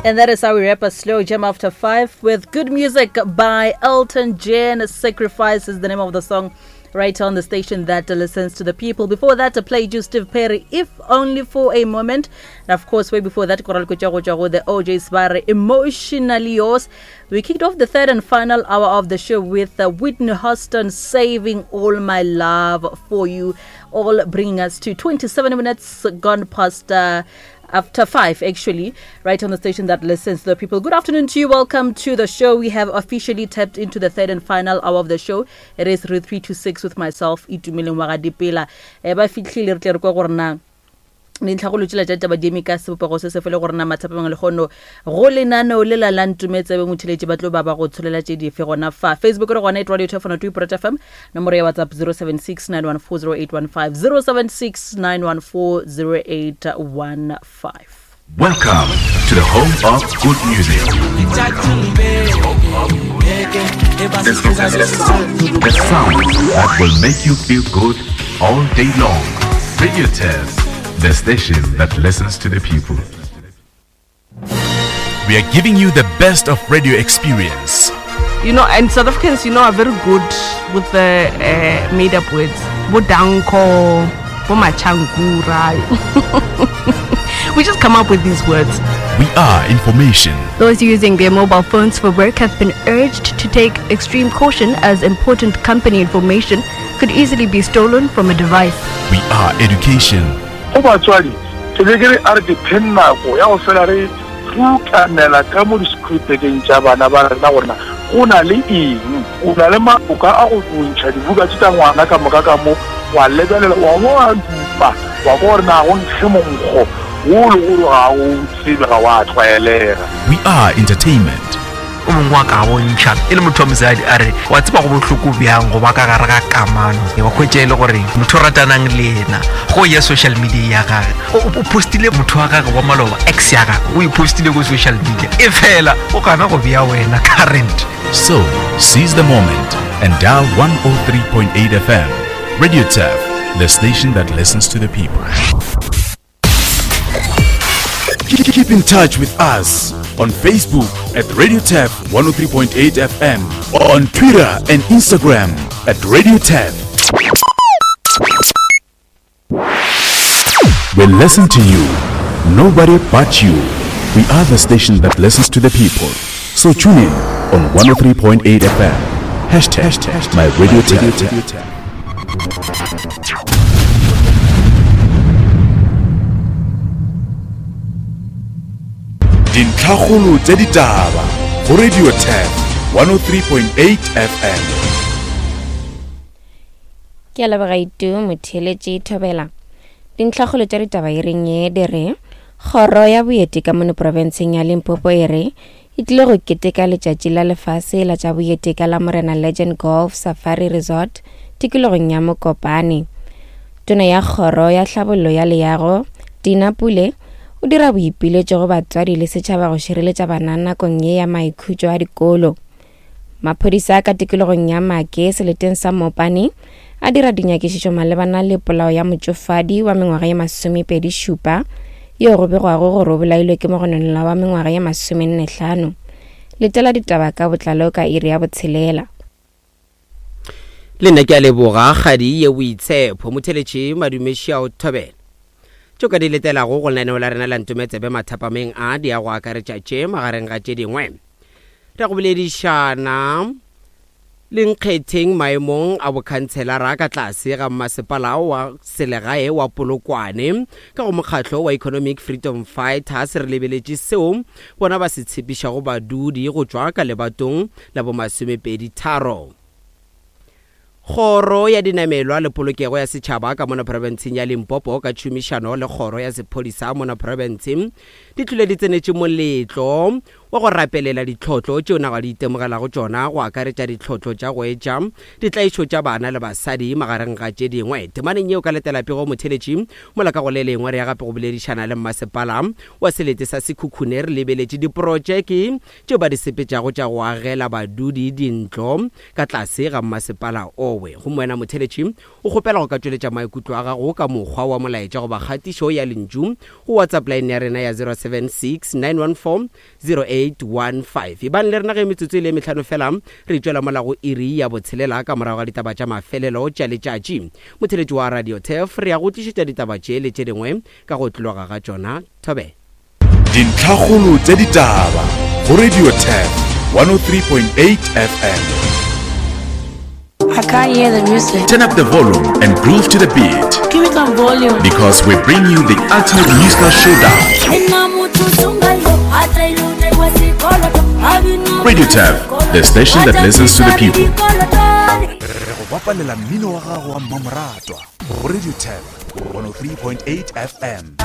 And that is how we wrap a slow jam after five with good music by Elton John. Sacrifice is the name of the song right on the station that listens to the people. Before that, I played you Steve Perry, If Only for a Moment. And of course, way before that, Koral Kuchago the OJ Sbare, Emotionally Yours. We kicked off the third and final hour of the show with uh, Whitney Houston, Saving All My Love for You, all bringing us to 27 minutes gone past. Uh, after five, actually, right on the station that listens to the people. Good afternoon to you. Welcome to the show. We have officially tapped into the third and final hour of the show. It is 3 to 6 with myself, Itumeleng Wagadipela. Eh, ba fitlhile re tle re kwa gore na dintlhagolo tsela tša taba di eme ka sebopego se se fele gore na mathapameng le kgono go lenaneo le la la ntumetsebe motheletši ba tlo ba ba go tsholela tše dife gona fa facebook re gona e radio telefono tu iporeta fm nomoro ya whatsapp 076 914 0815 076 914 0815 Welcome to the home of good music. The, sound that will make you feel good all day long. Radio Test, the station that listens to the people. We are giving you the best of radio experience. You know, and South Africans, you know, are very good with the uh, made up words. Bodanko, Bomachankura. we just come up with these words. We are information. Those using their mobile phones for work have been urged to take extreme caution as important company information could easily be stolen from a device. We are education. Go batswadi, ke be ke re a re ke pheng nako ya go fela re rukanela ka mo di-schoolbageng tša bana ba rena gore na go na le eng. O na le maoka a go ntšha dibuka tše tša ngwana ka moka ka mo, wa lebelela, wa bo wa dupa, wa kwa gore na go nkge monkgo wo le gore ga o tsebe, ga wa tlwaelega. We are entertainment. O mongwe wa ka bontšha e le motho wa mosadi a re wa tseba go bohloko bjang go ba ka gare ga kamano wa hwetša e le gore motho o ratanang le yena go ya social media ya gage o postile motho wa gage wa maloba ex ya gage o e postile ko social media e fela o gana go bea wena current. So, seize the moment and dial 103.8 FM. Radio Turf, the station that listens to the people. Keep in touch with us on Facebook at Radio Tap 103.8 FM, on Twitter and Instagram at Radio Tap. We listen to you, nobody but you. We are the station that listens to the people. So tune in on 103.8 FM. Hashtag my radio tap. Dintlhakgolo tša ditaba go Radio Tap 103.8 FM. Ke a leboga Itu motheeletši Thobela. Dintlhakgolo tša ditaba e reng ye di re Kgoro ya Boeti ka mono profenseng ya Limpopo e re e tlile go keteka letšatši la lefase la tša boeti ka la Morena Legend Golf Safari Resort tikologong ya Mokopane. Tona ya Kgoro ya Tlhabollo ya Leago, Dina Pule, o dira boipiletšo go batswadi le setšhaba go šireletša bana nakong ye ya maikhutšo a dikolo. Maphodisa ka tikologong ya Make seleteng sa Mopane a dira dinyakišišo malebana le polao ya motšofadi wa mengwaga ye masomepedi šupa yo go begwago gore o bolailwe ke mogononelwa wa mengwaga ye masomennehlano. Letela ditaba ka botlalo ka iri ya botshelela. Le nna ke a leboga kgadi ye boitshepho motheletše madumešia o thobela. Tšo ka di letelago go lenaneo la rena la ntometsebe mathapameng a di ya go akaretša tše magareng ga tše dingwe. Re go boledišana le nkgetheng maemong a bokhantshelara ka tlase ga mmasepala wa selegae wa Polokwane ka go mokgatlo wa Economic Freedom Fighters re lebeletše seo bona ba se tshepišago badudi go tšwa ka lebatong la bomasomepedi tharo. Kgoro ya Dinamelwa le Polokego ya Setšhaba ka mona profenseng ya Limpopo ka tšhomišano le Kgoro ya Sephodisa mona profenseng di tlile di tsenetše moletlo wa. wa go rapelela ditlhotlo tšeo naga di itemogelago tšona, go akaretša ditlhotlo tša go etša ditlaišo tša bana le basadi magareng ga tše dingwe. Temaneng yeo ka letela pego motheletši mola ka go le lengwe re ya gape go boledišana le mmasepala wa selete sa Sekhukhune re lebeletše diprotšeke tšeo ba di sepetšago tša go agela badudi dintlo ka tlase ga mmasepala owe. Gomme wena motheletši o kgopela go ka tšweletša maikutlo a gago ka mokgwa wa molaetša goba kgatišo ya lentšu go WhatsApp line ya rena ya 076 914 0815. Ebang le rena ge metsotso e le mehlano fela re tšwela mola go iri ya botshelela ka morago ga ditaba tša mafelelo tša letšatši. Motheletši wa Radio Turf re ya go tlišetša ditaba tše le tše dingwe ka go tloga ga tšona. Thobe. Dintlhakgolo tša ditaba go Radio Turf 103.8 FM. I can't hear the music. Turn up the volume and groove to the beat. Give me some volume. Because we bring you the ultimate musical showdown. Radio Tab, the station that listens to the people. Re go bapalela mmino wa gago wa mmamoratwa go Radio Tab 103.8 FM.